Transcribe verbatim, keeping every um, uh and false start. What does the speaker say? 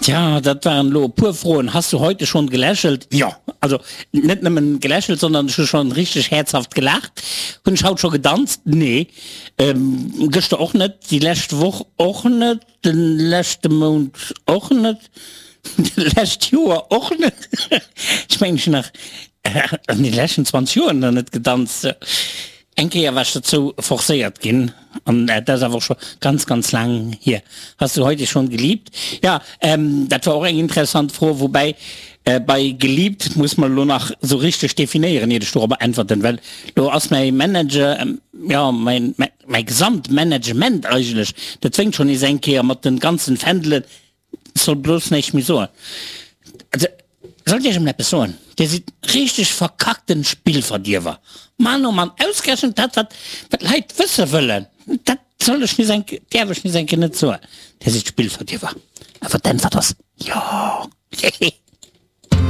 Tja, dat waren elo e puer Froen. Hast du heute schon gelächelt? Jo, also net nëmmen gelächelt, sondern ech hu schon richteg häerzhaft gelaacht. Hunn ech haut scho gedanzt? Nee. Gëschter och net, déi lescht Woch och net, de leschte Mount och net, d'lescht Joer och net. Ech mengen, ech hunn nach an de leschten zwanzeg Joer nach net gedanzt. Eng Kéier war ech dozou forcéiert ginn, an dat ass awer och scho ganz, ganz laang hier. Hast du heute schon geliebt? Ja, dat war och eng interessant Fro, woubäi bei geliebt muss mer elo nach esou richteg definéieren, iert ech dorobber äntwerten, well do ass mäi Manager, jo, mäin, mäi gesamt Management eigentlech, dat fänkt schonn nees eng Kéier mat de ganzen Fändelen, soll bloss näischt méi soen. Also, soll ech iech emol eppes soen? Dir sidd richteg verkackten Spillverdierwer. Mann oh Mann, ausgerechent dat wat wat d'Leit wësse wëllen, dat soll ech nees eng, däerf ech nees eng Kéier net soen. Dir sidd Spillverdierwer. Awer d'Äntwert ass jo. Hehe.